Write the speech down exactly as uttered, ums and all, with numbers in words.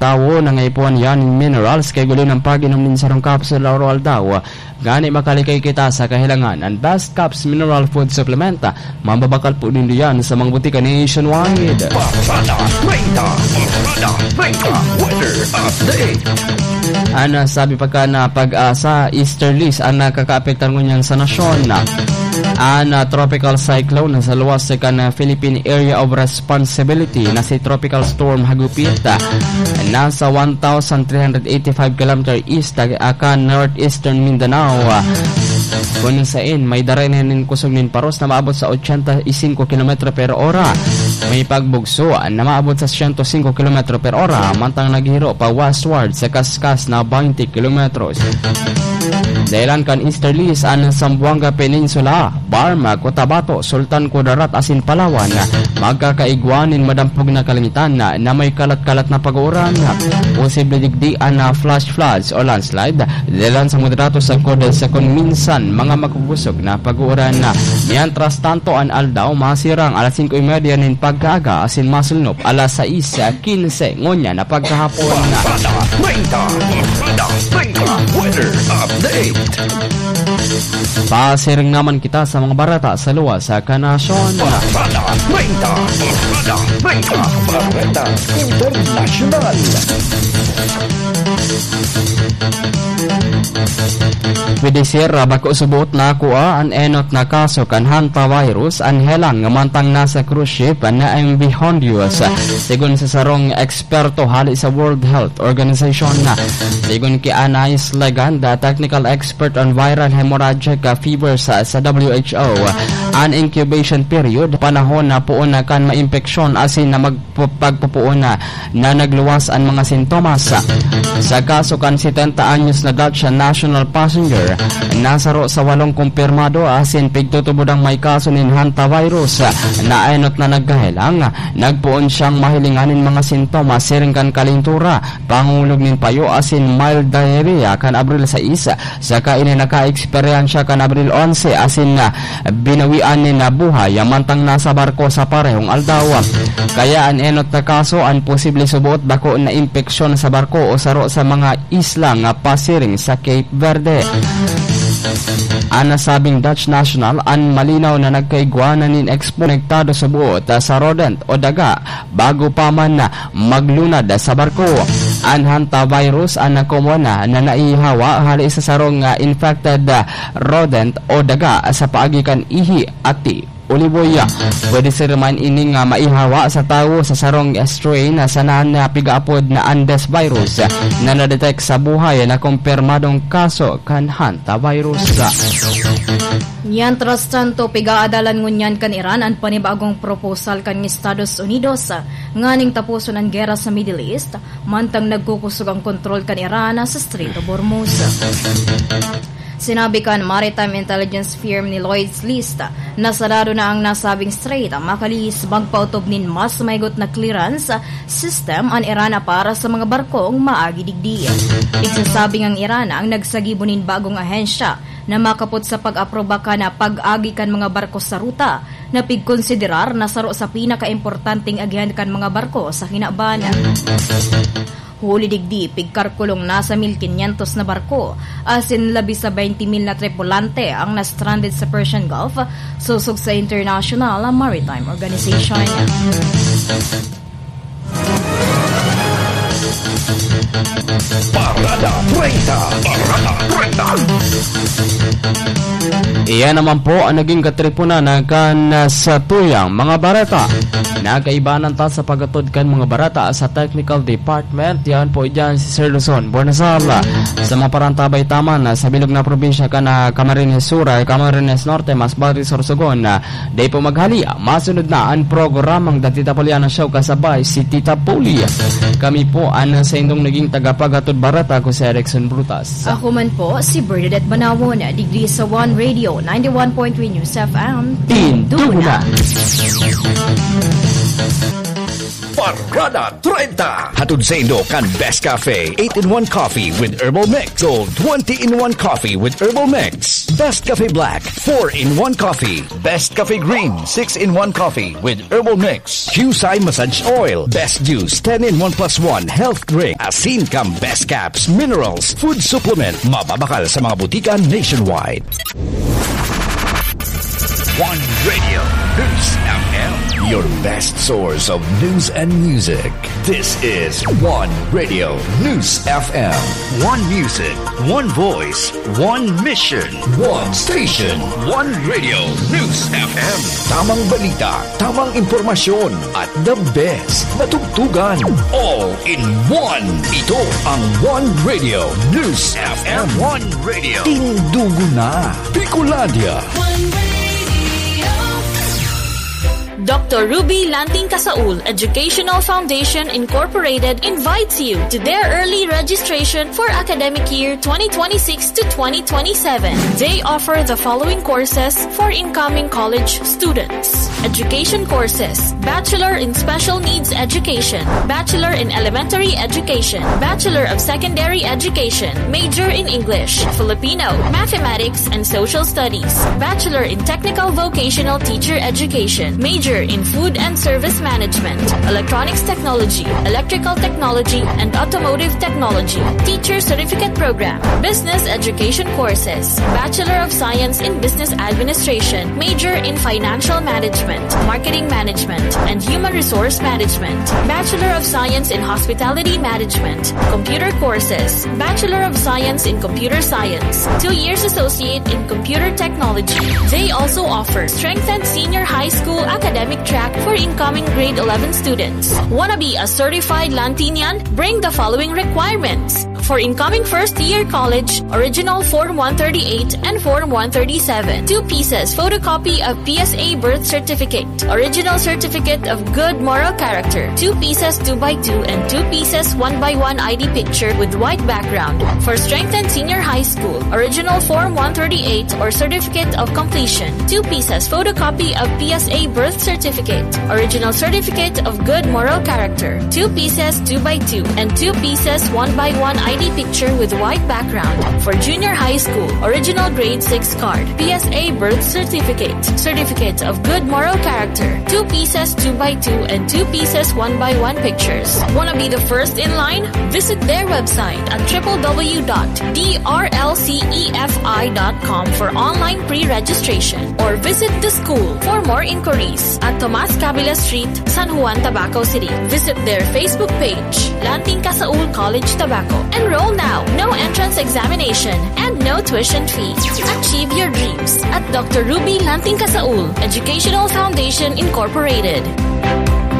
tawo na nga ipuan yan nin minerals kay guli ng pag-inom nin sarong capsule araw-aldaw. Ngani makalikay kita sa kahilangan. Ang Best Caps Mineral Food Supplement, mababakal po din diyan sa mga butika nationwide. Parada treinta, Parada treinta, weather update. Ana, sabi pa ka na pag-asa, easterlies ang nakakaapektar ngunyan sa nasyon. Ana, tropical cyclone sa luwas sa kan Philippine Area of Responsibility na si Tropical Storm Hagupit, nasa one thousand three hundred eighty-five kilometer east akan northeastern Mindanao. Kun sain, may daray na nin kusog nin paros na maabot sa ochenta y cinco kilometro per ora. May pagbugso na maabot sa siyento singko kilometro per ora, mantang naghiro pa westward sa kaskas na baynte kilometros. Dahilan kan easterlies an Zamboanga Peninsula, Barma, Cotabato, Sultan Kudarat asin Palawan, magkakaigwa nin madampog na kalangitan na, na may kalat-kalat na pag-uuran. Posible digdi an, ah, flash floods o landslide, dahilan sa moderato sagkod sa kun minsan mga makubusog na pag-uuran. Mientras tanto, an aldaw masirang alas singko y media nin pagkaaga asin masulnop alas sais quince ngunyan na pagkahapon. Parada treinta, Parada treinta, weather update. Pasiring naman kita sa mga bareta sa luwas sa kanasyon. Parada treinta, Parada treinta, Bareta Internasyonal. Pwede, sir, ah, bako suboot na ako, ah, an enot na kaso kan hantavirus an helang mantang nasa cruise ship na M V Hondius. Sigon sa sarong eksperto hali sa World Health Organization, sigon ki Anais Leganda, technical expert on viral hemorrhagic, ah, fevers sa, sa W H O, an incubation period, panahon na poon na kan maimpeksyon asin na mag-, pagpupoon na, na nagluwas an mga sintomas. Sa kaso kan setenta anyos na Dutch national passenger, nasaro sa walong kumpirmado asin pigtutubod ang may kaso nin hantavirus na enot na nagkahelang. Nagpoon siyang mahilingan nin mga sintomas siring kan kalintura, pangulog nin payo asin mild diarrhea kan Abril sais, saka ini nakaeksperyensya kan Abril onse asin, ah, binawian nin, ah, buhay mantang nasa barko sa parehong aldaw. Kaya an enot na kaso an posible suboot bako na impeksyon sa barko o saro sa mga isla nga pasiring sa Cape Verde. An nasabing Dutch national an malinaw na nagkaigwa na nin eksponektado suboot, ah, sa rodent o daga bago pa man maglunad sa barko. An hantavirus an nakomon na, na naihawa hali sa sarong, ah, infected, ah, rodent o daga sa paagi kan ihi, ati, o liboy. Pwede sir man ining, ah, maihawa sa tawo sa sarong strain na sana na pigaapod na Andes virus na nadetect sa buhay na kumpirmadong kaso kan hantavirus. Mientras tanto, pigaadalan ngunyan kan Iran an panibagong proposal kan Estados Unidos nganing taposon an gera sa Middle East, mantang nagkukusog ang kontrol kan Iran sa Strait of Hormuz. Sinabi kan maritime intelligence firm ni Lloyd's List na sarado na ang nasabing strait, makalihis magpaotob nin mas mahigot na clearance system an Iran para sa mga barkong maagi digdi. Igsasabi ngang Iran ang nagsagibo nin bagong ahensya na makapot sa pag-aproba kan pag-agi kan mga barko sa ruta na pigkonsiderar na saro sa pinakaimportanteng agihan kan mga barko sa kinaban. Huli digdi, pigkalkulong nasa mil kinyentos na barko, asin labi sa baynte mil na tripulante ang na-stranded sa Persian Gulf, sosog sa International Maritime Organization. Parada treinta. Parada treinta. Iyan naman po ang naging katripunan kan, ah, sa tuyang mga bareta. Nagkaibanan ta sa paghatod kan mga bareta sa technical department. Yan po dyan si Sir Luzon Buenasal. Sa mga parantabay taman, ah, sa bilog na probinsya kan, ah, Camarines Sur, ah, Camarines Norte, Masbate, Sorsogon, ah, Di po maghali, masunod na an programang The Tita Poliana Show kasabay si Tita Poli. Kami po an saindong naging tagapaghatod bareta, ako si Erickson Brutas. Ako man po si Bernadette Banawon, digdi sa One Radio, ninety-one point three News F M. Tindugo na! Parada treinta. Hatod saindo kan Best Cafe, eight-in-one coffee with herbal mix. Gold, twenty-in-one coffee with herbal mix. Best Cafe Black, four-in-one coffee. Best Cafe Green, six-in-one coffee with herbal mix. Qsai Massage Oil, Best Juice, ten-in-one plus one health drink. Asin kan Best Caps, Minerals, Food Supplement. Mababakal sa mga butika nationwide. One Radio News F M, your best source of news and music. This is One Radio News F M. One music, one voice, one mission. One station, One Radio News F M. Tamang balita, tamang impormasyon, at the best na tugtugan. All in one. Ito ang One Radio News F M. One Radio. Tindugo na, Bicolandia. One Radio. Doctor Ruby Lanting Kasaul Educational Foundation Incorporated invites you to their early registration for academic year twenty twenty-six to twenty twenty-seven. They offer the following courses for incoming college students: education courses: Bachelor in Special Needs Education, Bachelor in Elementary Education, Bachelor of Secondary Education, major in English, Filipino, Mathematics, and Social Studies, Bachelor in Technical Vocational Teacher Education, major in Food and Service Management, Electronics Technology, Electrical Technology, and Automotive Technology, Teacher Certificate Program, Business Education Courses, Bachelor of Science in Business Administration, major in Financial Management, Marketing Management, and Human Resource Management, Bachelor of Science in Hospitality Management, Computer Courses, Bachelor of Science in Computer Science, two years Associate in Computer Technology. They also offer strengthened Senior High School academic track for incoming grade eleven students. Wanna be a certified Lantinian? Bring the following requirements. For incoming first year college, original Form one thirty-eight and Form one thirty-seven. Two pieces photocopy of P S A birth certificate. Original certificate of good moral character. Two pieces two by two and two pieces one by one I D picture with white background. For strengthened Senior High School, original Form one thirty-eight or certificate of completion. Two pieces photocopy of P S A birth certificate. Original certificate of good moral character. Two pieces two by two and two pieces one by one I D picture with white background. For Junior High School, original grade six card, P S A birth certificate, certificate of good moral character, two pieces two by two and two pieces one by one pictures. Wanna be the first in line? Visit their website at triple W dot D R L C E F I dot com for online pre-registration, or visit the school for more inquiries at Tomas Cabila Street, San Juan, Tabaco City. Visit their Facebook page, Lanting Kasaul College, Tabaco. Enroll now. No entrance examination and no tuition fee. Achieve your dreams at Doctor Ruby Lanting Kasaul Educational Foundation Incorporated.